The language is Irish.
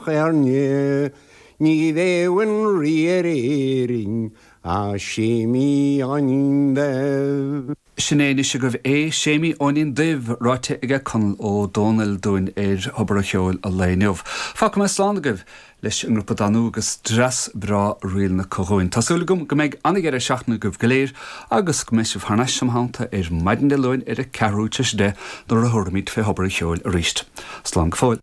Éirne, ní bheadh aon rí ar Éirinn ach Séimí Eoinín Dubh. Sin é anois agaibh é, Séimí Eoinín Duibh, ráite aige Conall Ó Dónaill dúinn ar Thobar an Cheoil an lae inniu. Fágfaidh mé slán agaibh leis an ngrúpa Danú agus dreas breá ríleanna acu dhúinn. Tá súil agam go mbeidh an-dheireadh seachtaine agaibh go léir agus go mbeidh sibh thar n-ais im theannta ar maidin Dé Luain ar a ceathrú tar éis 10 nuair a thabharfaimid fé Thobar an Cheoil arís. Slán go fóill.